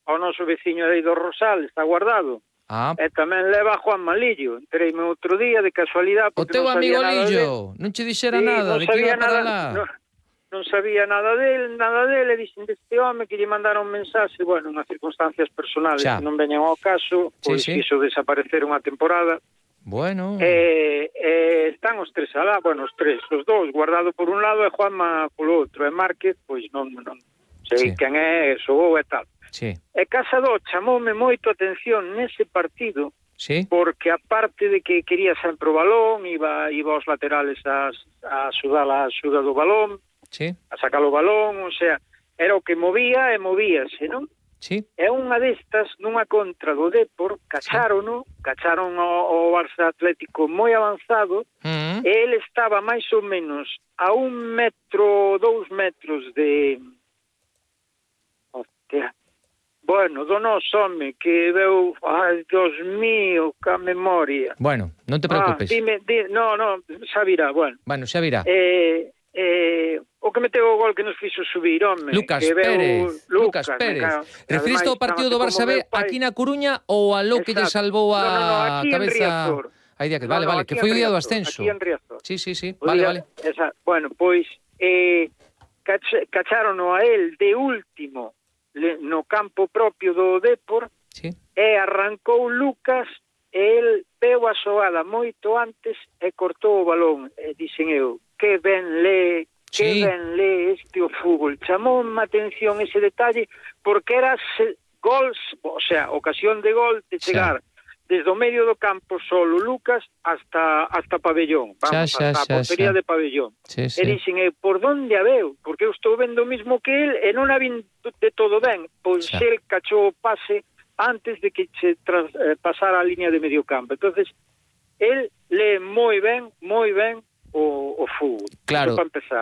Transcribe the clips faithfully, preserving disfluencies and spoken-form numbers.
ao noso veciño aí do Rosal, está guardado. Ah. E tamén leva a Juan Malillo. Entreime outro día de casualidade O porque teu non sabía amigo nada Lillo, non che dixera sí, nada non de que sabía iba para nada, lá. Non, non sabía nada del, nada del, e dixen deste home que lle mandaron un mensaxe, bueno, unhas circunstancias personales Xa. que non veñan ao caso, pois Sí, sí. quiso desaparecer unha temporada. Bueno. E, e están os tres alá, bueno, os tres, os dous, Guardado por un lado e Juanma polo outro, e Márquez, pois non, non sei Sí. quen é, soou e tal. Sí. E Casado chamoume moito a atención nese partido, Sí. porque aparte de que quería sempre o balón, iba, iba aos laterales a, a sudar a xuda do balón, Sí. a sacar o balón, o sea, era o que movía e movíase, non? Sí. É unha destas, nunha contra do Depor, cacharono, cacharon o, o Barça Atlético moi avanzado, Mm. e ele estaba máis ou menos a un metro, dous metros de... Hostia... Bueno, do noso home, que veu... Ai, Dios mío, ca memoria. Bueno, non te preocupes. Ah, dime, di, no, no, xa virá, bueno. Bueno, xa virá. Eh, eh, o que meteu o gol que nos fixo subir, home. Lucas que veu, Pérez, Lucas Pérez. Referiste ao partido do Barça B aquí na Coruña ou aló que lle salvou a no, no, no, aquí cabeza... en Riazor. Aí día que, No, vale, no, vale, que aquí foi o en día do Riazor, ascenso. Aquí en Riazor. Sí, sí, sí, O vale, día, vale. Esa, bueno, pois eh, cach, cacharono a él de último le, no campo propio do Depor, sí. E arrancou Lucas e el veu a xoada moito antes e cortou o balón. E dixen eu, que ben le, que sí. ben le este o fútbol. Chamou má atención ese detalle porque era se, gols, o sea, ocasión de gol de chegar sí. Desde o medio do campo solo Lucas hasta hasta pabellón, vamos, xa, xa, hasta a portería xa. de pabellón. Sí, sí. E dixen eu, por donde a veu? Porque eu estou vendo o mismo que el e non a vin de todo ben. Pois xa. el cachou o pase antes de que se tras, eh, pasara a línea de medio campo. Entonces, él lee moi ben, moi ben o, o fútbol. Claro,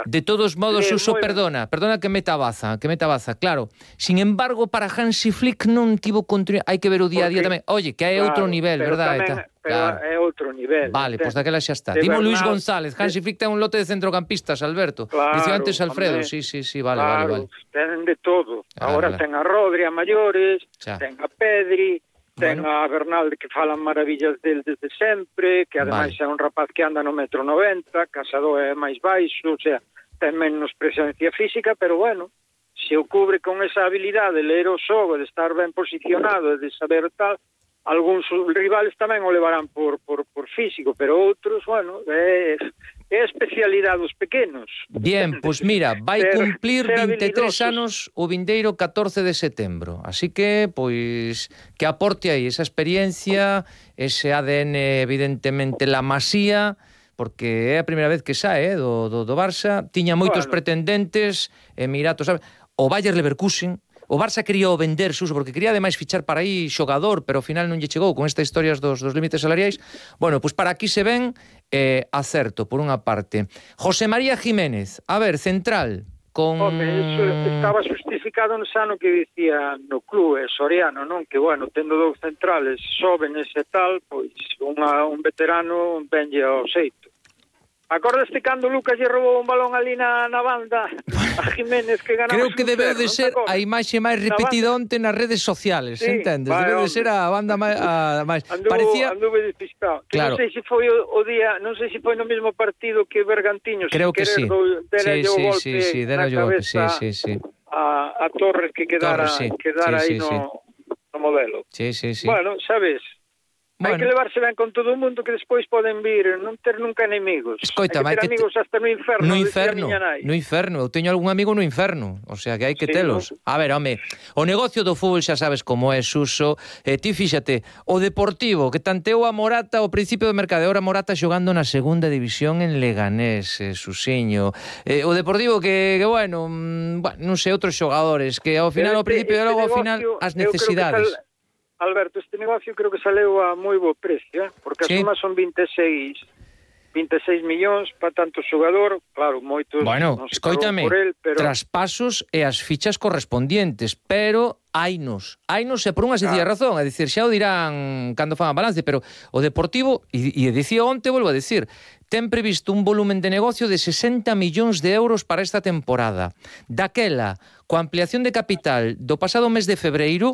de todos modos, lee Uso, perdona, perdona que meta baza, que meta baza, claro. Sin embargo, para Hansi Flick non tivo continuidade, hai que ver o día a día tamén. Oye, que é claro, outro nivel, pero verdad? Tamén, pero claro. É outro nivel. Vale, pois pues daquela xa está. De Dimo Luis Bernal, González, Hansi Flick ten un lote de centrocampistas, Alberto. Claro, Dicía antes Alfredo, hombre, sí, sí, sí, vale, claro, vale, vale. Ten de todo. Ah, Agora vale. ten a Rodri a maiores, Xa. ten a Pedri, ten bueno. a Bernal que falan maravillas del desde sempre, que ademais vale. é un rapaz que anda no metro noventa, Casado é máis baixo, o sea, ten menos presencia física, pero bueno, se o cubre con esa habilidade de ler o xogo, de estar ben posicionado, de saber tal, algúns rivales tamén o levarán por, por, por físico, pero outros, bueno, é, é especialidade dos pequenos. Bien, pois pues mira, vai ser, cumplir ser vinte e tres habilidosos. anos o vindeiro catorce de setembro. Así que, pois, que aporte aí esa experiencia, ese A D N, evidentemente, la Masía, porque é a primeira vez que sae eh, do, do, do Barça. Tiña moitos Bueno. pretendentes, Emiratos, sabe? O Bayer Leverkusen. O Barça quería o vender, Suso, porque quería ademais fichar para aí xogador, pero ao final non lle chegou con estas historias dos, dos límites salariais. Bueno, pois para aquí se ven eh, acerto, por unha parte. José María Jiménez, a ver, central, con... Home, eso estaba justificado no sano que dicía no club, Soriano, non? Que, bueno, tendo dous centrales xóvenes e tal, pois unha, un veterano venlle ao xeito. Acordaste cando Lucas lle robou un balón ali na, na banda a Jiménez que ganamos? Creo que debeu de ser a imaxe máis repetida banda... onte nas redes sociales, sí, entendes? Vale, debeu de hombre. ser a banda máis... A, máis. Anduvo, Parecía... anduve despistado. Que claro. Non sei se foi o, o día, non sei se foi no mesmo partido que Bergantiños. Creo que sí. Do, sí, sí, golpe sí, sí, na golpe, sí, cabeza sí, sí. A, a Torres que quedara, Torres, sí. quedara sí, aí sí, no, sí. no modelo. Sí, sí, sí. Bueno, sabes... Bueno. Hai que levarse ben con todo o mundo que despois poden vir, non ter nunca enemigos. Escoita, hai que ter que amigos te... hasta no inferno, no inferno, nai. no inferno. Eu teño algún amigo no inferno, o sea que hai que sí, telos. No? A ver, home, o negocio do fútbol xa sabes como é, Suso. Eh, ti fíxate, o Deportivo que tanteou a Morata ao principio do mercado, ahora Morata xogando na segunda división en Leganés, eh, Susiño. Eh, o Deportivo que, que bueno, mm, bueno, non sei, outros xogadores que ao final, ao principio e logo ao final as necesidades. Alberto, este negocio creo que saleu a moi bo precio, eh? Porque sí. as sumas son vinte e seis millóns para tanto xogador, claro, moitos bueno, non se escoítame, por el, pero... traspasos e as fichas correspondientes, pero hainos, hainos e por unha sencilla ah. razón, é dicir, xa o dirán cando fan a balance, pero o Deportivo, e, e dicía onte, volvo a dicir, ten previsto un volumen de negocio de sesenta millóns de euros para esta temporada. Daquela, coa ampliación de capital do pasado mes de febreiro,